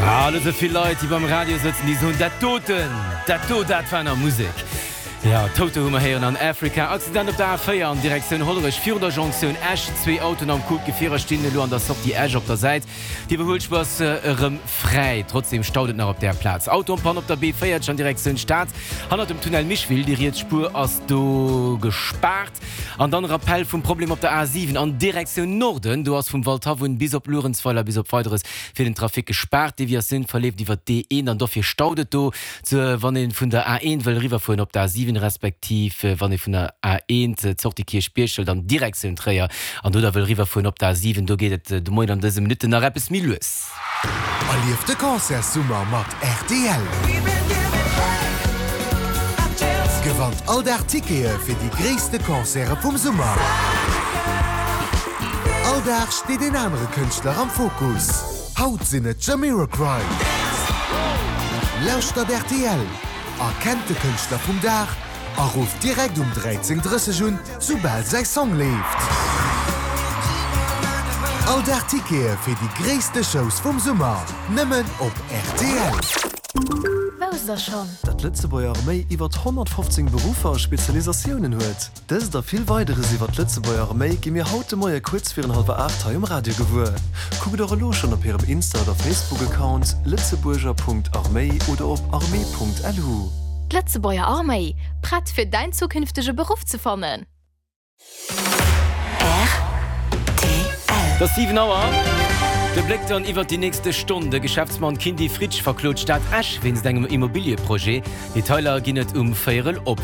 Ah, elo sou vill Leit, déi beim Radio sëtzen, déi soen, dat doten, dat do, dat war nach Musek. Jo, Toto hu mer héieren an Africa. Accident op der A4 an Direktioun Hollerech virun der Jonktioun Esch. Zwee Autoen am Coup, d'Gefierer stinn elo an der Sortie Esch op der Säit. D'Iwwerhuelspuer ass erëm fräi, trotzdeem staut et nach op där Plaz. Auto en panne op der B40 an Direktioun Stad, hannert dem Tunnel Micheville. Déi riets Spuer ass do gespaart. An dann Rappell vum Problem op der A7 an Direktioun Norden. Do ass vum Waldhaff un bis op Luerenzweiler bis op Weideres fir den Trafic gespaart. D'Deviatioun verleeft iwwer d'D1 an dofir staut et do, wann ee vun der A1 wëll eriwwerfueren op d'A7 respektiv wann ee vun der A1 d'Sortie Kierchbierg hëlt an Direktioun Tréier an do da wëll eriwwerfueren op d'A7. Do geet et de Moien an dëse Minutten nach eppes méi lues. Erlieft de Concertssummer mat rtl! Gewannt all Dag Tickete fir déi gréisste Concerte vum Summer! All Dag steet een anere Kënschtler am Fokus. Haut sinn et Jamiroquai! Lauschtert rtl, erkennt de Kënschtler vum Dag a rufft direkt um 13:30 un, soubal säi Song leeft. All Dag Tickete fir déi gréisste Shows vum Summer, nëmmen op rtl. Wousst der schonn? Datt d'Lëtzebuerger Arméi iwwert 115 Beruffer a Spezialisatiounen huet? Dëst a vill Weideres iwwer d'Lëtzebuerger Arméi gi mir haut de Moie kuerz virun hallwer 8 hei um Radio gewuer. Kuckt och elo schonn op hirem Insta oder Facebook-Account lëtzebuerger.arméi oder op armee.lu. D'Lëtzebuerger Arméi, prett fir däin zukünftege Beruff ze fannen? Et ass 7 Auer. De Bléck dann iwwert déi nächste Stonn, De Geschäftsmann Kindy Fritsch verklot d'Stad Esch wéinst engem Immobilieprojet. Detailer ginn et um Véierel op.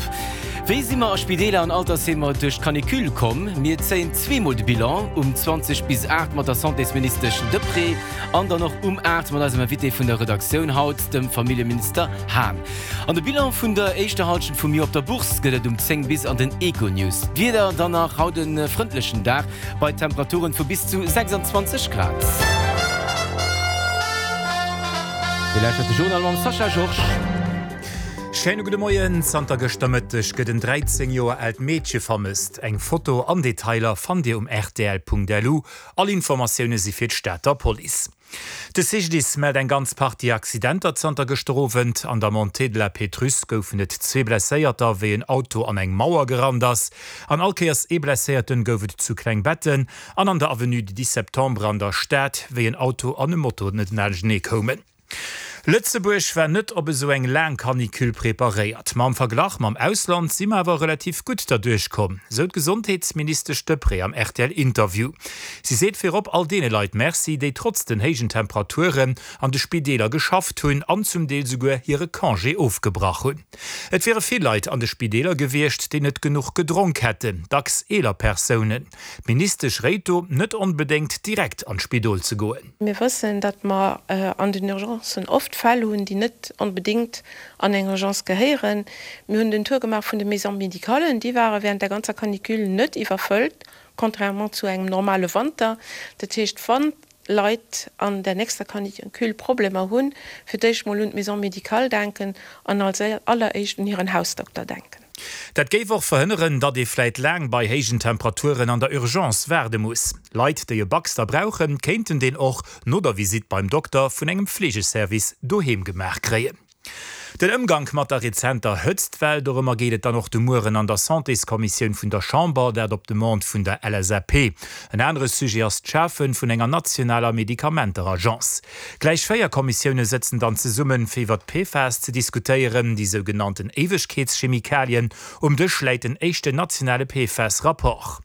Wéi si mer a Spideeler an Altersheemer duerch d'Canicule komm? Mir zéien zweemol de Bilan, um 20 bis 8 mat der Santésministesch Deprez an dann och um 8 mat eisem Invité vun der Redaktioun haut, dem Familljeminister Hahn. An de Bilan vun der éischter Hallschent vum Joer op der Bourse gëtt et um 10 bis an den Econews. D'Wieder dann nach haut e frëndlechen Dag bei Temperaturen vu bis zu 26 Grad. Dir lauschtert de Journal mam Sascha Georges. Schéine gudde Moien. Zanter gëschter Mëtteg gëtt en 13 Joer aalt Meedche vermësst. Eng Foto an Detailer fannt Dir um rtl.lu. All Informatioune si fir d'Stater Police. De CGDIS mellt eng ganz Partie Accidenter zanter gëschter Owend. An der Montée de la Pétrusse goufen et zwee Blesséierter, wéi en Auto an eng Mauer gerannt ass. An all Kéiers ee Blesséierten gouf et zu Klengbetten an an der Avenue du 10 Septembre an der Stad, wéi en Auto an e Moto net laanschtenee koumen. Lëtzebuerg war net op esou eng laang Canicule preparéiert, ma am Verglach mam Ausland si mer awer relativ gutt derduerch komm, sou d'Gesondheetsministesch Deprez am RTL-Interview. Si seet virop all deene Leit Merci, déi trotz den héijen Temperaturen an de Spideeler geschafft hunn an zum Deel souguer hire Congé ofgebrach hunn. Et wiere vill Leit an de Spideeler gewiescht, déi net genuch gedronk hätten, dacks eeler Persounen. D'Ministesch réit do, net onbedéngt direkt an d'Spidol ze goen. Mir wëssen, datt mer an den Urgencen oft Fäll hunn, déi net onbedéngt an eng Urgence gehéieren. Mir hunn den Tour gemaach vun de Maisons médicales. Déi ware während der ganzer Canicule net iwwerfëllt, contrairement zu engem normale Wanter. Dat heescht, wann Leit an der nächster Canicule Problemer hunn, fir d'éischt mol un d'Maison médicale denken an als alleréischt un hiren Hausdokter denken. Dat géif och verhënneren, datt ee vläit laang bei héijen Temperaturen an der Urgence waarde muss. Leit, déi e Baxter brauchen, kéinten deen och no der Visitt beim Dokter vun engem Fleegeservice doheem gemaach kréien. Den Ëmgank mat der rezenter Hëtztwell, dorëmmer geet et dann och de Mueren an der Santéskommissioun vun der Chamber, dat op Demande vun der LSAP. En anere Sujet ass d'Schafe vun enger nationaler Medikamenteragence. Gläich 4 Kommissioune sëtzen dann zesummen, fir iwwer d'PFAS ze diskutéieren, déi sougenannten Éiwegkeetschemikalien. Um Dësch läit den éischten nationale PFAS-Rapport.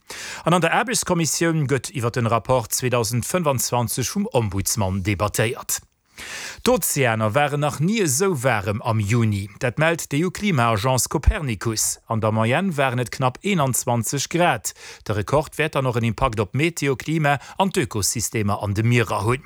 An an der Aarbechtskommissioun gëtt iwwer den Rapport 2025 vum Ombudsman debattéiert. D'Ozeaner waren nach ni esou waarem am Juni. Dat mellt d'EU-Klima-Agence Copernicus. An der Moyenne waren et knapp 21 Grad. De Rekord wäert dann och en Impakt op d'Meteo, Klima an d'Ökosystemer an de Mierer hunn.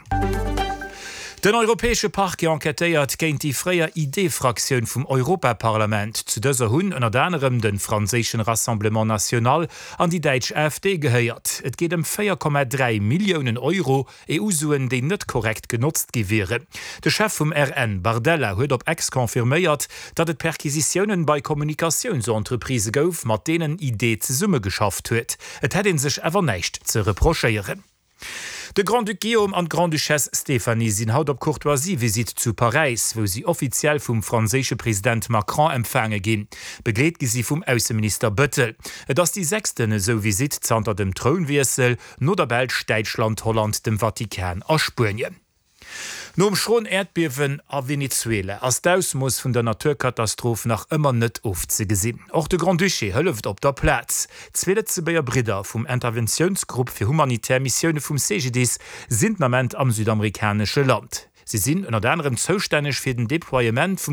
Den europäesche Parquet enquêtéiert géint déi fréier ID-Fraktioun vum Europaparlament. Zu dëser hunn ënnert anerem de franséischen Rassemblement National an déi däitsch AfD gehéiert. Et geet ëm 4,3 Milliounen Euro EU-Suen, déi net korrekt genotzt gi wieren. De Chef vum RN, Bardella, huet op X confirméiert, datt et Perquisitiounen bei Kommunikatiounsentreprisë gouf, mat deenen ID zesummegeschafft huet. Et hätt ee sech awer näischt ze reprochéieren. De Grand-Duc Guillaume an d'Grande-Duchesse Stéphanie sinn haut op Courtoisie-Visitt zu Paräis, wou si offiziell vum franséische President Macron empfaange ginn. Begleet gi si vum Ausseminister Bëttel. Et ass déi sechsten esou Visitt zanter dem Trounwiessel, no der Belsch, Däitschland, Holland, dem Vatikan a Spuenien. Nom schroen Äerdbiewen a Venezuela ass d'Ausmooss vun der Naturkatastroph nach ëmmer net ofzegesinn. Och de Grand-Duché hëlleft op der Plaz. Zwee Lëtzebuerger Bridder vum Interventiounsgrupp fir humanitär Missioune vum CGDIS sinn den Ament am südamerikanesche Land. Si sinn ënnert anerem zoustänneg fir den Deploiement vum.